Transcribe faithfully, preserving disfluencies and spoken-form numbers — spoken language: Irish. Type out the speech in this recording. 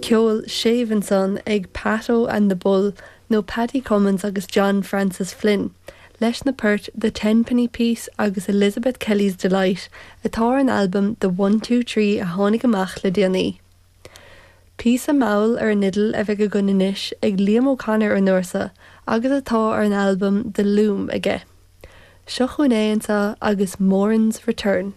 Ceol séimh ansan ag Patto and the Bull nó Paddy Cummins agus John Francis Flynn, leis na poirt The Tenpenny Piece agus Elizabeth Kelly's Delight atá ar an albam The One Two Tree a tháinig amach le déanaí. Píosa mall ar an fhidil a bheidh againn anois ag Liam O'Connor an uair seo agus atá ar an albam The Loom aige. Seo chugainn é anseo agus Moran's Return.